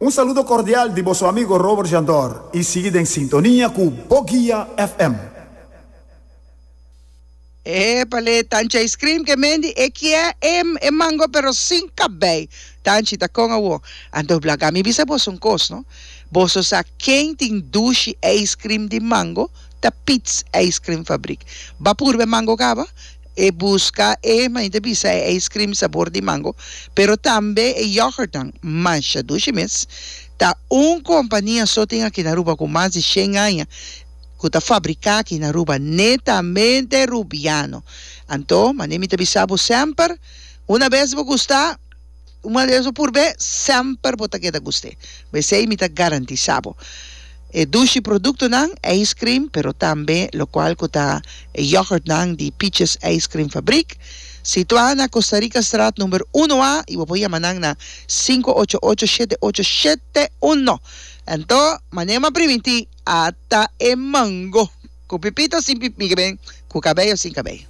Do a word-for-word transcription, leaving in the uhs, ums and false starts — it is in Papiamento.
Un saludo cordial di boso amigo Robert Jandor y sigui den sintonia cu Bo Guia F M. Épale, Tanchi ice cream ke mendi e kie e, e mango pero sin cabei. Tanchi ta con awo. Anto laga mi bisa boso un cos, no? Boso sa ken tin dushi ice cream di mango? Ta Pete's Ice Cream Fabriek. Ba purbe mango caba? E busca e mainta bisa e ice cream sabor di mango, pero tambe e yoghurt nan masha dushi mes. Ta un compania so tin aki na Aruba cu mas di shen aña cu ta fabrica aki na Aruba, netamente rubiano. Anto, mane mi ta bisa bo semper, una vez bo gusta, una vez bo purbe, semper bo ta keda guste. Esey mi ta garantisa bo. E dushi producto nan, ice cream, pero tambe locual cu ta e yoghurt nan di Peaches Ice Cream Fabriek, situa na Costa Rica Straat number un A y bo por yama nan na cinco ocho ocho, siete ocho siete uno. Anto, manera m'a priminti, ata e mango. Cu pipito sin pipi, cu cabello sin cabello.